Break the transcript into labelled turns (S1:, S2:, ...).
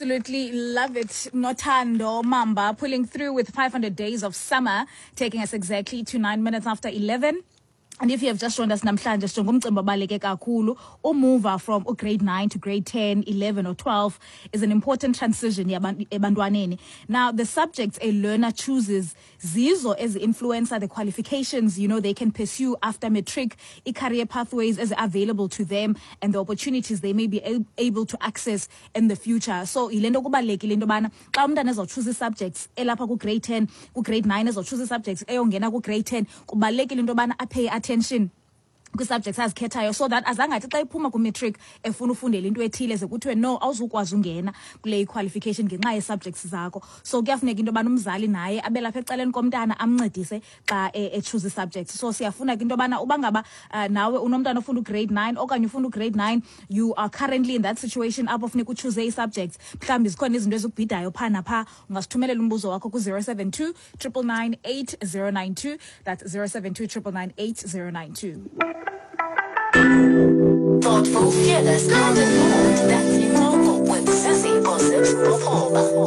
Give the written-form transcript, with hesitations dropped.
S1: Absolutely love it. Nothando Mamba pulling through with 500 Days of Summer, taking us exactly to 9 minutes after 11. And if you have just joined us namhlanje, sijonge umcimbi obaluleke kakhulu. Umuva from grade 9 to grade 10, 11 or 12 is an important transition ebantwaneni. Now, the subjects a learner chooses zizo ezi-influencer the qualifications they can pursue after matric, i-career pathways as available to them and the opportunities they may be able to access in the future. So yile nto kubalulekile into yobana xa umntana ezawutshuza ii-subjects elapha ku-grade 10, ku-grade 9, ezawutshuza ii-subjects eyongena ku-grade 10, kubalulekile into yobana apay attention kwii-subjects azikhethayo so that azangathi xa iphuma kwimatric efuna ufundela into ethile ze kuthiwe no, awuzukwazi ungena kule qualification ngenxa yee-subjects zakho. So kuyafuneka into yobana umzali naye abe lapha ecaleni komntana, amncedise xa echoose ii-subjects. So siyafuna ke into yobana uba ngaba nawe unomntana ofunda ugrade 9 okanye ufunda ugrade 9, you are currently in that situation apho funeka uchoose ii-subjects, mhlawumbi zikhona izinto ezikubhidayo phaa naphaa, ungasithumelela umbuzo wakho ku-072 999 8092. That's 072 999 8092.
S2: Thoughtful, fearless, and informed. That's Incoko with Zizi Gossips Bophoba.